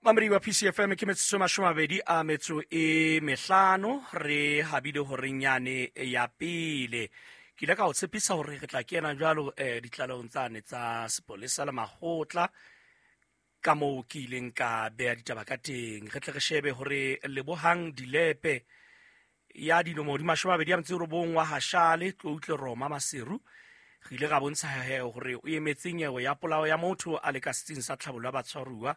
Mamedi wa PCFM, ke metsotso 25 re habile horeng yane ya pele. Ke ile ka o tshepisa hore re tla kena jwalo ditlalehong tsane tsa sepolesa le makgotla, ka moo ke ileng ka beha ditaba ka teng. Re tle re shebe hore Lebohang Dilepe ya dilemo di 29 wa Hashale Tloutle Roma Maseru, re ile ra bontsha he hore o emetse nyewe ya polao ya motho a le ka setsing sa tlhabollo ya batshwaruwa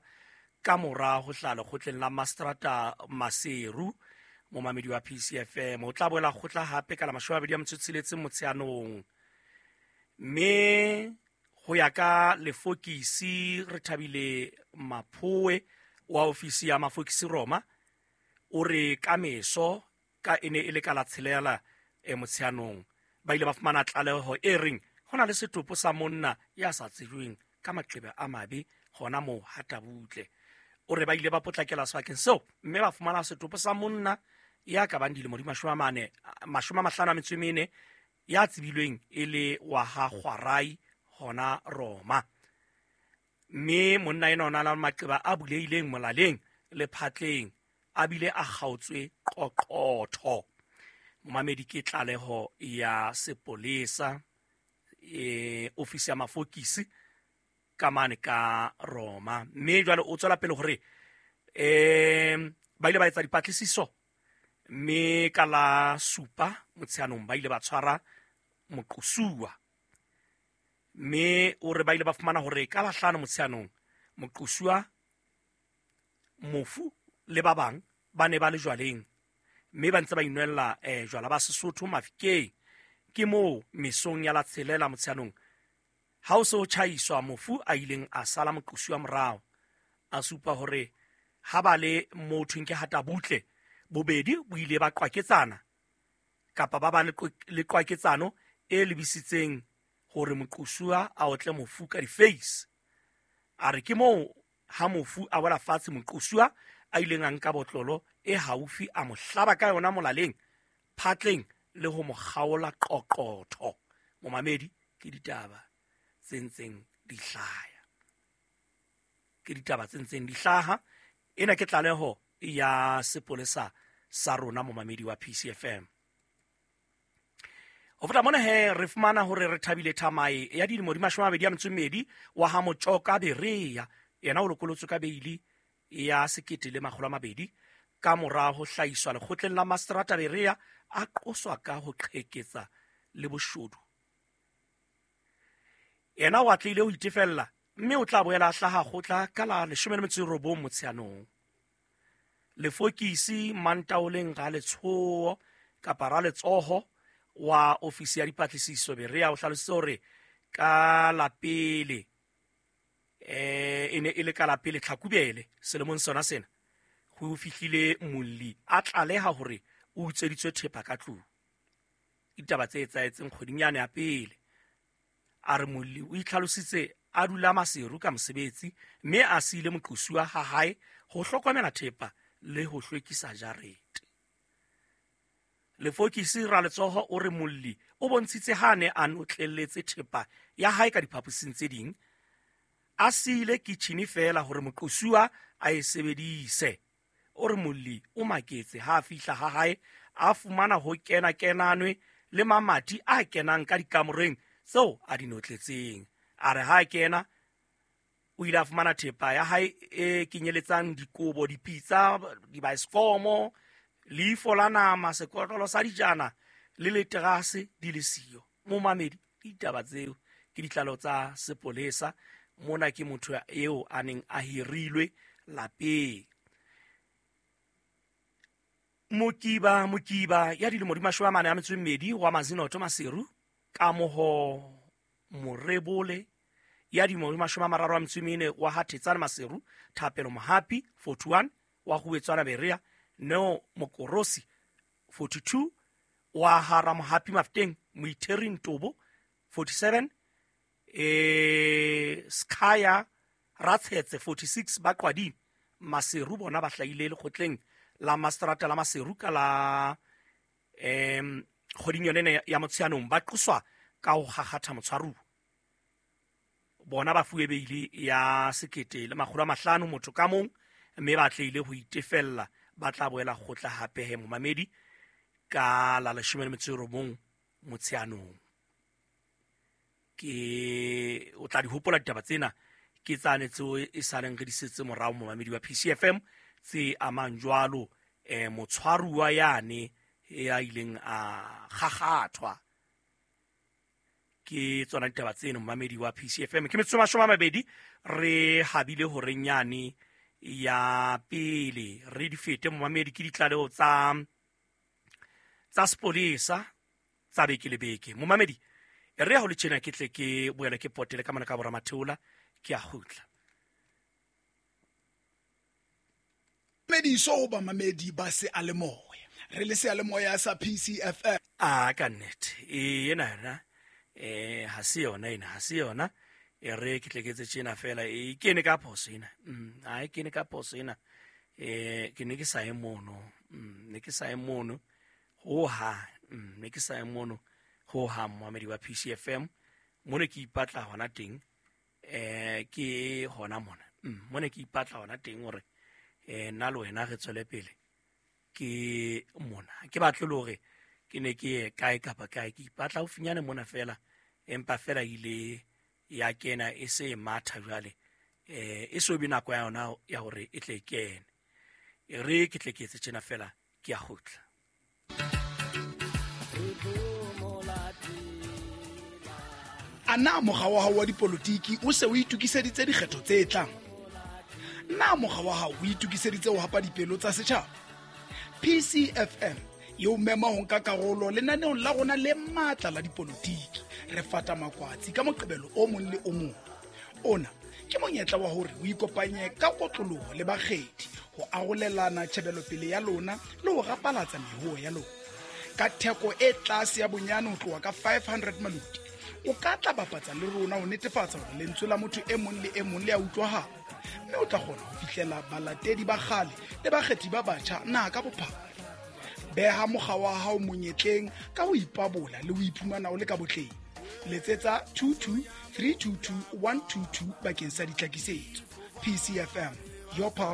ka mora ho hlaha lekgotleng la Mastrata Maseru. Momamedi wa PCFM, o tla boela kgotla hape ka la 26 Motsheanong. Mme ho ya ka lefokisi re thabile Maphoe wa ofisi ya mafokisi Roma, o re ka meso ka e ne e le ka la tshelela Motsheanong, ba ile ba fumana tlaleho e reng ho na le setopo sa monna ya sa tsejweng ka maqeba a mabe hona moo Hatabutle. O re ba ile ba potlakela sebakeng seo mme ba fumana setopo sa monna ya ka bang dilemo di 40, 54, ya tsebilweng e le wa ha Kgwarai hona Roma. Mme monna ena o na le maqeba a bulehileng molaleng le phatleng, a bile a kgaotswe qoqotho. Momamedi, ke tlaleho ya sepolesa, ofisi ya mafokisi ka mane ka Roma. Mme jwale o tswela pele hore ba ile ba etsa dipatlisiso, mme ka la 7 Motsheanong ba ile ba tshwara moqosuwa. Mme o re ba ile ba fumana hore ka la 5 Motsheanong moqosuwa, mofu le ba bang ba ne ba le jwaleng, mme ba ntse ba inwella jwala ba Sesotho Mafikeng. Ke moo mesong ya la 6 Motsheanong ha o se o tjhaiswa, mofu a ileng a sala moqosuwa morao, a supa hore ha ba le moo thweng ke Hatabutle, bobedi bo ile ba qwaketsana kapa ba ba le qwaketsano e lebisitseng hore moqosuwa a otle mofu ka di-face. A re ke moo ha mofu a wela fatshe, moqosuwa a ileng a nka botlolo e haufi a mo hlaba ka yona molaleng, phatleng le ho mo kgaola qoqotho. Momamedi, ke ditaba tse ntseng di hlaya. Ke ditaba tse ntseng di hlaha. Ena ke tlaleho ya sepolesa sa rona, momamedi wa PCFM. Ho feta mona he, re fumana hore re thabile Thamae ya dilemo di 22 wa ha Motjoka Berea, yena o lokolotswe ka beili ya 1200 ka mora ho hlahiswa lekgotleng la Mastrata Berea, a qoswa ka ho qheketsa le boshodu. Yena o atlehile ho itefella, mme o tla boela a hlaha kgotla ka la 19 Motsheanong. Lefokisi Mantaoleng Raletshoho kapa Raletsoho wa ofisi ya dipatlisiso Berea o hlalositse hore ka la pele e ne e le ka la pele Tlhakubele selemong sona sena, ho fihlile molli a tlaleha hore o utsweditswe thepa ka tlung. Ditaba tse etsahetseng kgweding yane ya pele. A re molli o itlhalositse a dula Maseru ka mosebetsi, mme a siile moqosuwa ha hae ho hlokomela thepa le ho hlwekisa jarete. Lefokisi Raletsoho o re molli o bontshitse ha a ne a notlelletse thepa ya hae ka diphaposing tse ding, a siile kitjhini feela hore moqosuwa a e sebedise. O re molli o maketse ha a fihla ha hae a fumana ho kena-kenanwe le mamati a kenang ka dikamoreng tseo a di notletseng. A re ha a kena o ile a fumana thepa ya hae e kenyeletsang dikobo, dipitsa, dibaesekomo, leifo la nama, sekotlolo sa dijana le leterase di le siyo. Momamedi, ditaba tseo ke ditlalo tsa sepolesa. Mona ke motho eo a neng a hirilwe lapeng. Mokiba ya dilemo di 42 wa Mazinoto Maseru, Kamoho Morebole ya dilemo di 34 wa Hathetsane Maseru, Thapelo Mohapi 41 wa Huetswana Berea, Neo Mokorosi 42 wa Hara Mohapi Mafteng, Moitheri Ntobo 47, Skaya Ratshetse 46 ba Qwading Maseru. Bona ba hlahile lekgotleng la Mastrata la Maseru ka la kgweding yone ya Motsheanong, ba qoswa ka ho kgakgatha motshwaruwa. Bona ba fuwe beili ya 1500 motho ka mong, Mme ba tleile ho itefella, ba tla boela kgotla hape he momamedi ka la 19 Motsheanong. Ke o tla di hopola ditaba tsena, ke tsane tseo e saleng re di setse morao momamedi wa PCFM, tse amang jwalo motshwaruwa yane ya ileng a kgakgathwa. Ke tsona ditaba tseno momamedi wa PCFM. Ke metsotso 20 re habile horeng yane ya pele, re di fete momamedi. Ke ditlaleho tsa sepolesa tsa beke le beke momamedi. Re ya ho le tjena, ke tle ke boele ke potele ka mona ka bora Matheola, ke a kgutla. Mediso ho bamamedi ba seyalemoya, re le seyalemoya sa PCFM. A ka nnete ena yona ha se yona ena, ha se yona. E re ke tle ke etse tjena fela, e kene ka phoso ena. Ha e kene ka phoso ena. Ke ne ke sa ye mono. Ne ke sa ye mono ho hang. Ne ke sa ye mono ho hang momamedi wa PCFM. Mono ke ipatla hona teng. Ke hona mona. Mono ke ipatla hona teng hore nna le wena re tswele pele. Ke mona. Ke batle le hore ke ne ke ye kae kapa kae, ke ipatla haufinyane mona fela, empa fela ile ya kena e se e matha jwale. E so be nako ya yona ya hore e tle e kene. E re ke tle ke etse tjena fela, ke a kgutla. A na mokga wa hao wa dipolotiki o se o itokiseditse dikgetho tse tlang? Na mokga wa hao o itokiseditse ho hapa dipelo tsa setjhaba? PCFM e o mema ho nka karolo lenaneong la rona le matla la dipolotiki. Re fata makwatsi ka Moqebelo o mong le o mong. Ona ke monyetla wa hore o ikopanye ka kotloloho le bakgethi, ho arolelana tjhebelopele ya lona le ho rapalatsa mehoo ya lona. Ka theko e tlase ya bonyane ho tloha ka 500 maloti, o ka tla bapatsa le rona ho netefatsa hore lentswe la motho e mong le e mong le a utlwahala, mme o tla kgona ho fihlela balatedi ba kgale le bakgethi ba batjha naha ka bophara. Beha mokga wa hao monyetleng ka ho ipabola le ho iphumana o le ka botleng. Letsetsa 22 322 122 bakeng sa ditlhakisetso. PCFM, your power.